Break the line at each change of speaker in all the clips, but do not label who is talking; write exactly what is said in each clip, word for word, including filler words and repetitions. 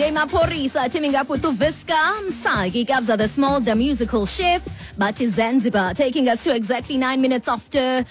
D J Maphorisa teaming up with Uviska Msaki, Kabza the Small, the musical chef, Bati Zanzibar, taking us to exactly nine minutes after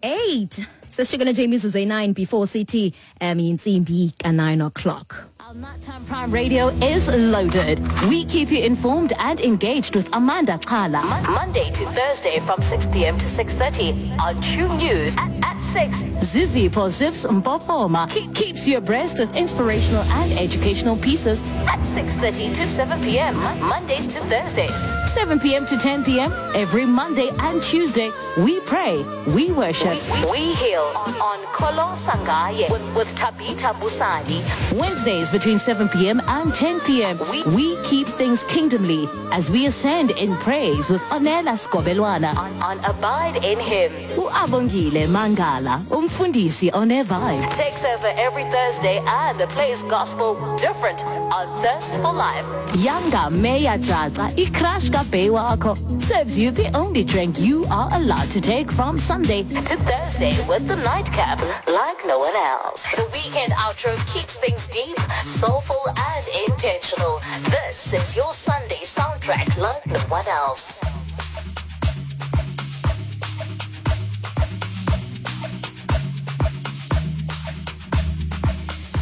eight. Sesishikele nje imizuzu eyi-nine before sithi um intsimbi ka-nine o'clock.
Our Nighttime Prime Radio is loaded. We keep you informed and engaged with Amanda Kala. Monday to Thursday from six p m to six thirty on True News at, at six. Zizi for Zips Mpopoma Keep, keeps you abreast with inspirational and educational pieces at six thirty to seven p m. Mondays to Thursdays. seven p m to ten p m every Monday and Tuesday. We pray, we worship, we heal on Kolo Sangaye with, with Tabita Busani. Wednesdays between seven p m and ten p m. We, we keep things kingdomly as we ascend in praise with Onela Skobelwana on, on Abide in Him. Uabongile Mangala, Umfundisi on a vibe, takes over every Thursday and plays gospel different on Thirst for Life. Yanga Meya Jaza, iCrash Kabe wakho, serves you the only drink you are allowed to take from Sunday to Thursday with the nightcap like no one else. The weekend outro keeps things deep, soulful and intentional. This is your Sunday soundtrack like no one else.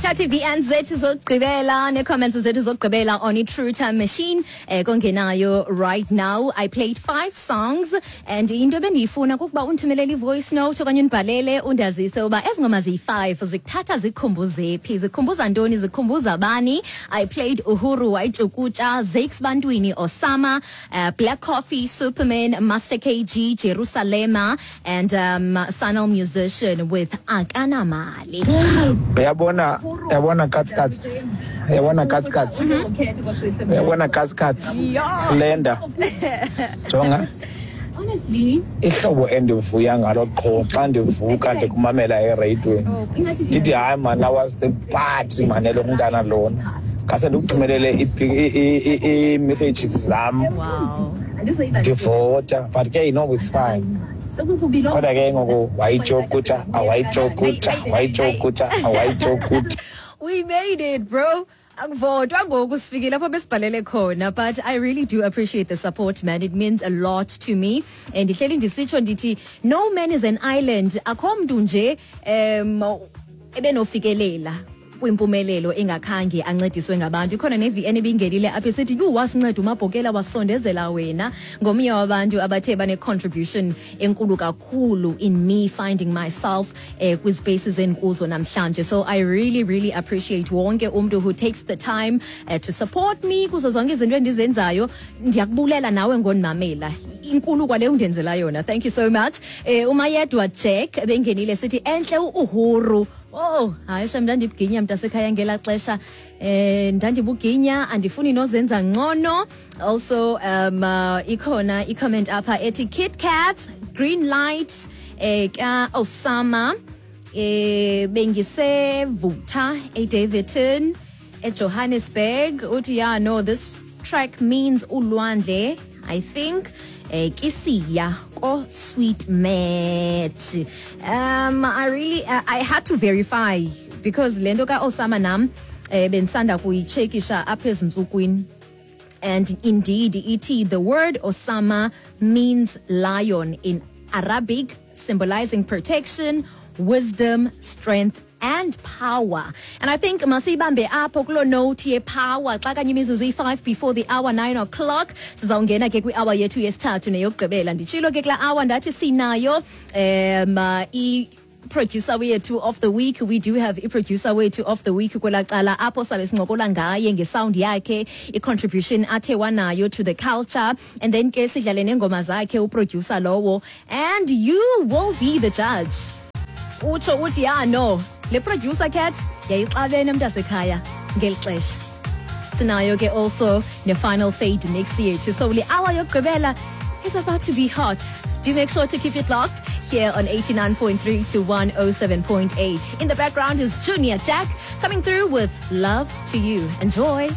Sithathe i-V N zethu zokugqibela nee-comments zethu zokugqibela on i-True Time Machine eh kongenayo right now. I played five songs and into ebendiyifuna kukuba undithumelele i-voice note okanye undibhalele undazise uba ezi ngoma ziyi-five zikuthatha zikukhumbuze phi, zikhumbuza ntoni, zikhumbuza bani. I played Uhuru Wayijukutsha, Zakes Bantwini Osama, uh, Black Coffee Superman, Master K G Jerusalema and um, Sanal Musician with Akanamali.
Uyabona, uyabona katsi katsi, uyabona katsi katsi, uyabona katsi katsi slender, jonga ihlobo endivuya ngalo qho xa ndivuka ndikumamela ereyidweni, ndithi hayi man, I was the part man lo mntana lona khase ndikuthumelele ii-messages zam
wow
ndivota, but ke you know it's fine, kodwa ke ngoku wayitshokutsha, awayitshokutsha, wayitshokutsha, awayitshokutsha.
We made it, bro. Akuvotwa ngoku, sifikile apho besibhalele khona, but I really do appreciate the support, man. It means a lot to me and ndihleli ndisitsho ndithi no man is an island. Akho mntu nje um ebenofikelela kwimpumelelo engakhange ancediswe ngabantu. Ikhona ne-V N ebingenile apha esithi yhu, wasinceda uMabhokela, wasondezela wena. Ngomnye wabantu abathe bane-contribution enkulu kakhulu in me finding myself eh, kwi-spaces endikuzo namhlanje. So I really, really appreciate wonke umntu who takes the time uh, to support me kuzo zonke izinto endizenzayo. Ndiyakubulela nawe ngondimamela, inkulu kwale undenzela yona. Thank you so much. eh, umayedwa Jack bengenile sithi entle u-Uhuru. Oh, hayi shem, ndandibuginya mntasekhaya ngelaa xesha. Eh ndandibuginya, andifuni nozenza ngcono. Also um uh, ikhona i-comment apha ethi Kit Kats Green Light eh ka Osama, eh bengisevutha eDavidton eJohannesburg. Uthi yeah, no, this track means ulwandle, I think, eh kisiya ko Sweet Mat. um I really uh, I had to verify because lento ka Osama nam eh bensanda kuyichekisha apha ezintsukwini. And indeed, it the word Osama means lion in Arabic, symbolizing protection, wisdom, strength and power. And I think masibambe apho kuloo note ye-power. Xa kanye imizuzu iyi-five before the hour nine o'clock, sizawungena ke kwi-hour yethu yesithathu neyokugqibela. Nditshilo ke kulaa hour ndathi sinayo um uh, i producer wethu of the week. We do have i-producer wethu of the week kwelaa cala apho sabe sincokola ngaye ngesound yakhe, i-contribution athe wanayo to the culture, and then ke sidlale neengoma zakhe uproducer lowo, and you will be the judge, utsho uthi ya no, le producer cat yayixabene mntasekhaya ngeli xesha. Sinayo ke also ne-final fade next year too. So le hour yokugqibela is about to be hot. Do make sure to keep it locked here on eighty-nine point three to one oh seven point eight. In the background is Junior Jack coming through with Love to You. Enjoy.